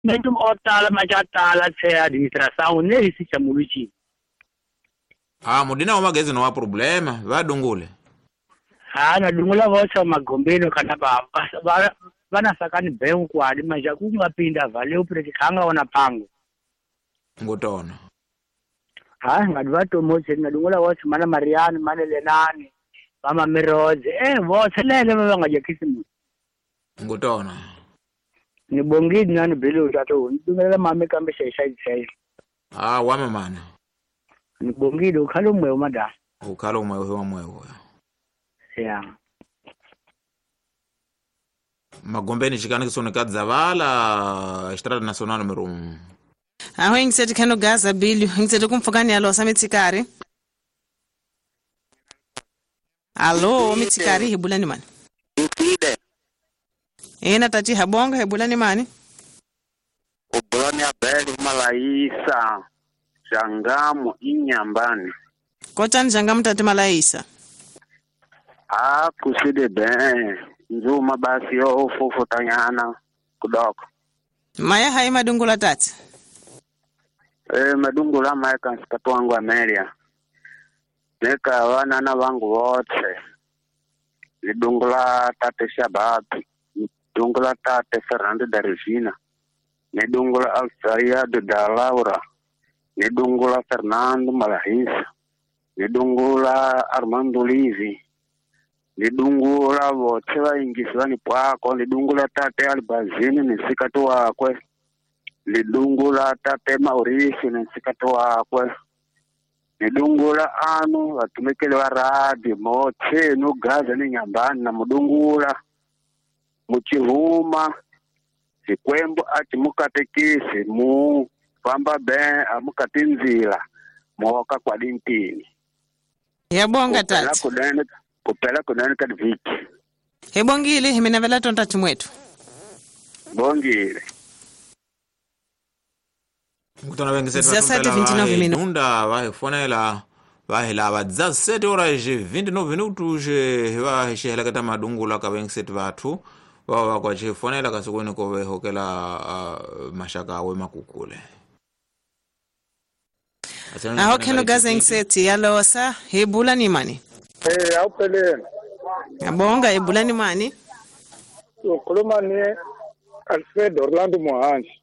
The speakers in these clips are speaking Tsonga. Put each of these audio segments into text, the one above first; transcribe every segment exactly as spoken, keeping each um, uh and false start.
Mentum otala majatala tse administração nesse chamuluchi. Ah, mudina wa magezi no wa problema, va dungule. Ah, na dungula vosa magombeno kana ba ba vana sakani beu kwali manja kungapinda valeu preti khanga ona pango. Ngotona. Ah, ngadwa motse na dungula vosa mana Mariani, mana Lenani, mama Miroze, eh vosa lele ba nga kisimu. Ngotona. Ni bongile nani belo tato, ndumela mame kambe shesha shesha. Ah, wame mana. Ni bongile ukhalo mwe mada. Ukhalo mwe wa mwe. Yeah. Magombeni chikana kisoneka Zavala, Estrada Nacional número um. Aho ingiseti khano gaza bilio, ingiseti kumfukani alo samitsikari. Alo mitsikari hibulani mani. Ena tati habonga hibulani mani. Ubulani abeli malaisa. Jangamu inyambani. Kotani jangamu tati malaisa. Ah, kuside ben. Nzuma basi yo fufu tanyana kudoko. Maya hai madungula tati. Eh madungula maya kansikatu wangu Amelia. Neka wana na wangu wote. Nidungula tate Shababi. Nidungula tate Fernando da Regina. Nidungula Alfredo da Laura. Nidungula Fernando Malahisa. Nidungula Armando Livi. Nidungula vote vaingisi vanipwako. Nidungula tate Albazini nisikati wakwe. Nidungula tate Mauricio nisikati wakwe. Nidungula anu vatumikeli va radio motse no gaza ni nyambani na mudungula muchihuma xikwembu a mukatekisi mu famba ben amukatinzila moka kwalintini. Yabonga tati. Kupela kunene ka viki. Hebongile himina vela tonta chimwetu. Bongile. Mkutano wengi setu nunda vai fonela vai lava dezessete horas e vinte e nove minutos vai shehela kata madungula ka wengi setu vatu wa kwa chifonela kasukuni ko hokela uh, mashaka we makukule. Aho kheno gaza ngiseti yalosa hebula ni mani. Eh awuphelele. Ngiyabonga ebula ni mani. Ukhuluma ne Alfredo Orlando Mohanji.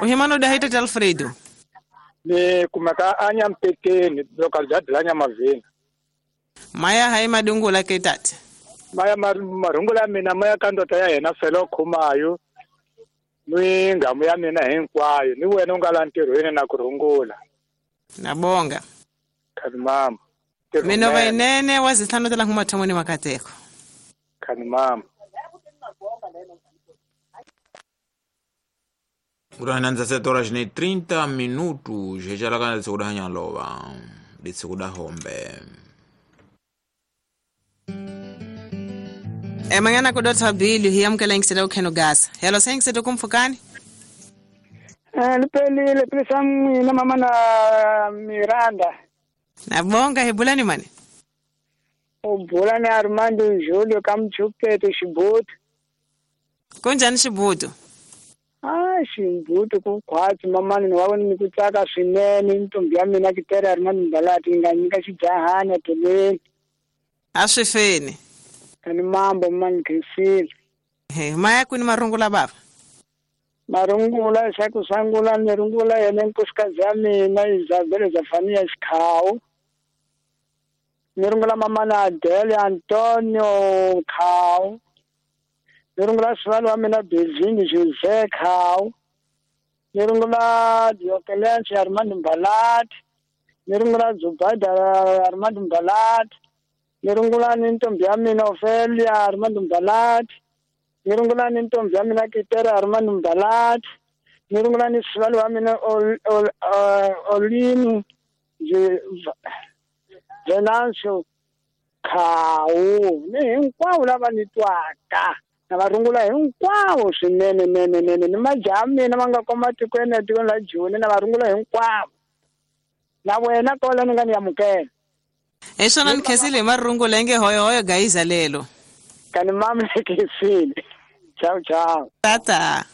Uhimano dahita Alfredo. Ni kumaka anya mpekeni localidade la Nyamavini. Maya hai madungula ke tati. Maya marungula mina maya kandota ya yena felo khumayo. Ni ngamu ya mina hinkwayo ni wena u nga la ntirhweni na ku rungula. Nabonga. Khani mama. Mina vainene wazihlanu tala ngumathomoni makateko. Khani mama. Urana dezessete horas e trinta minutos. Já lá na segunda lova. De segunda hombe. E mangana kudota bili hiyamkela ngisela ukheno gas. Hello sengisela kumfukani? Eh lipelile pesa mina mama na Miranda. Nabonga hebulani mani. Ubulani Armando Julio kamchupeto Shibutu. Kunjani Shibutu? Ah Shibutu kukhwatsi mama ni wa ni kutsaka swinene ntombi ya mina kitera Armando Mbalati nganyika xijahana teleni. Aswifeni. Kani mambo mani Christine. He maya kwini marungula baba. Marungula sakusangula nirungula yena nkosikazi ya mina Isabel Zafania Xikhawu. Nirungula mama na Adele Antonio Khawu. Nirungula sivalo wa mina Belvini Jose Khawu. Nirungula Diokelence Armando Mbalati. Nirungula Zubaida Armando Mbalati. Nirungula ni ntombi ya mina Ofelia Armando Mbalati. Nirungula ni ntombi ya mina Kitera Armando Mbalati. Nirungula ni sivalo wa mina Olinu Venancio Khawu. Ni hinkwavo lava ni twaka. Na va rungula hinkwavo swinene nene nene ni majaha mina ma nga koma tikweni na tikweni la Joni na va rungula hinkwavo. Na wena kola ni nga ni amukela. Esona nikhesile marungula nge hoyo hoyo gayiza lelo. Kani mama nikhesile. Ciao ciao. Tata.